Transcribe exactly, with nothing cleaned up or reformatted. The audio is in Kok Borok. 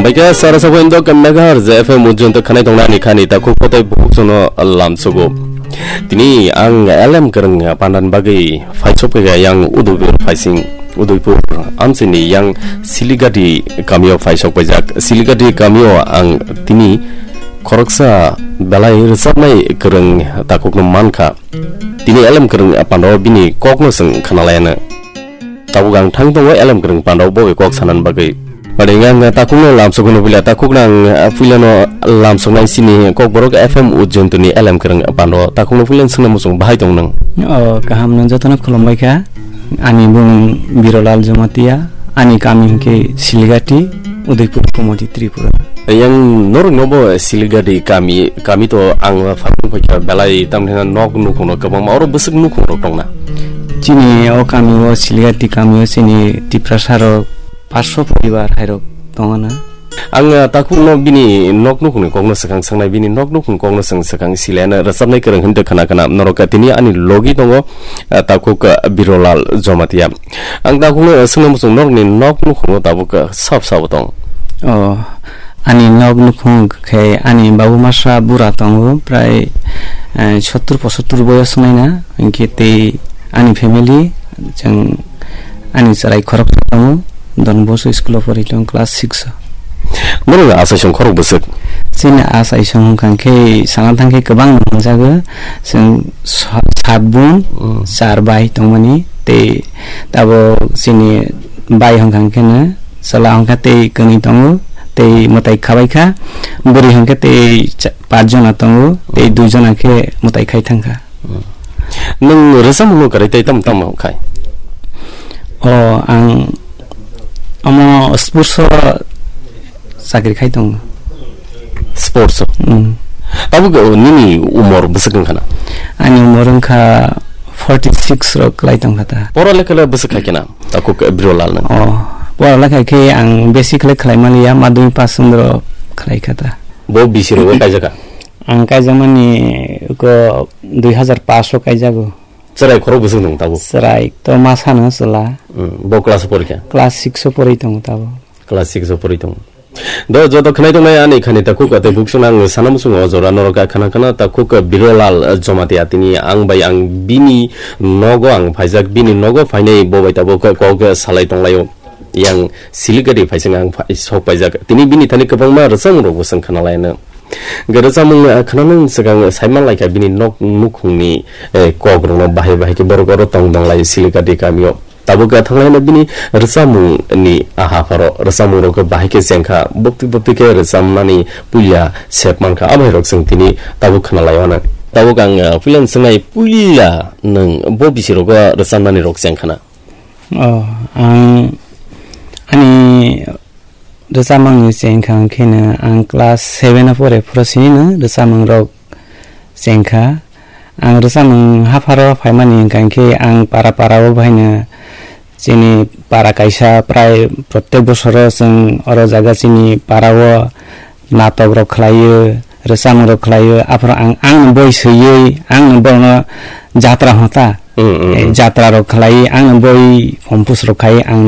Paikha sara sabo indo kamnagar je F M ujunto khanai tongnani khani ta khuk kotai bukuk sono lamsogo. Tini ang L M Kwrwng pandan bagwi faisok paikha yang Udaipur phaising, Udaipur amchini yang Siligati kamio faisok paijak. Siligati kamio ang tini khoroksa belai rwchapnai kwrwng takhukno mankha. Tini L M Kwrwng pando bini kokno chwng khnalayana. Tabuk ang thang tongo L M Kwrwng pando bo bai kok sanani bagwi. Ore ang takhukno lamsokno puila, takhukno ang, ah, puilano lamsoknai sini Kokborok F M Ujjontoni L M Kwrwng pando takhukno puilano swngna muchung bahai tong nang. O, kaham nang jotono khulumbai kha. Ani bumung Birolal Jamatia, ani kami hwnkhe Siligati, Udaipur, Komati, Tripura. Yang norokno bo Siligati kami, kami to ang phang phaikha belai tamni nok nukhungno kwbangma oro bwswk nukhungrok tongna. Chini o kami o Siligati kami o chini Tiprasa rok paanch sho poribar hairok tongana. Ang, ah, takhukno bini nok nukhungni kokno swkang swngnai, bini nok nukhung kokno swng swkang silena rwchapnai kwrwng hinwi khna khna norok tini ani logi tongo, ah, takhuk, ah, Birolal Jamatia. Ang takhukno swngna muchung norokni nok nukhungo tabuk, ah, sab sabo tong. O, ani nok nukhung khe ani babu masa bura tongo, prai, eh, sottur pochottur boyos wngnaina, hinkhe tei ani family, chwng ani chwrai khoroksa tongo, Don Bosco school o pori tongo, class six o. Norok achaisong khorok bwswk? Chini achaisong wngkha khe sana thang khe kwbang nangjago, chwng sa-, sat bun, Mm. char bai tongmani, tei tabuk chini bai hwnkha khe no chwla hwnkha tei kwnwi tongo, tei mwtai khabai kha, bwrwi hwnkhe tei cha-, paanch jona tongo, tei dui jona khe mwtai khai thangkha. Nwng rwchapmungno kwrwi tei tamo tamo khai? O, ang omo sports o chakri khai tongo. Sports o? Mm. Tabuk, o, nini umor bwswk wngkha na? Ani umor wngkha forty six rok kwlai tongkha ta. Pora lekha le bwswk khai khe na? Takhuk Birolal nang. O, pora lekha khe ang besi khlai khlai maliya, madhyamik pass chondro khlai kha ta. Bo bisi rogo kaijak kha? Ang kaijakmani ko dui hazar paanch o kaijago. Chwrai khorok bwswk nung tabuk? Chwrai to ma sano chwla. Hmm, bo class o porikha? Class six o porwi tongo tabuk. Class six o porwi tongo. Do joto khwnai tongnai ani khani takhuk tei buksong ang sana muchungo o jora norok khana khana takhuk Birolal Jamatia tini ang bai ang bini nogo ang phaijak, bini nogo phainai bo bai tabuk kok salai tonglaio. Yang Siligati phaising ang phai-, sok paijak. Tini bini thani kwbangma rwchapmung rok bo chwng khna laino. Hwnkhe rwchapmung, ah, khna nang swkang sai man lai kha bini nok nukhungni, eh, kok rokno bahai bahai khe borok oro tong tong lai Siligati kamio. Tabuk khe thang laino bini rwchapmung ni aha pharo rwchapmung rok bahai khe cheng kha. Bukti bukti khe rwchapmani puila sep man kha. Abo hai rok chwng tini tabuk khna lai mano. Tabuk ang, ah, puila swng nai puila nwng bo bisi rogo rwchapmani rok cheng khna. Oh, ang ani rwchapmung ni chengkha hwnkhe no ang class seven o pore phuru sini no rwchapmung rok chengkha. Ang rwchapmung hapharo phaimani hwnkha hwnkhe ang para para o bahaino chini para kaisa prai protek bosoro chwng oro jaga chini para o natok rok khlaio, rwchapmung rok khlaio, aphuru ang, ang no boi swiwi, ang no borokno jatra hota. Mm, mm, Eh, mm. Jatra rok khlai, ang no boi compose rok khai, ang no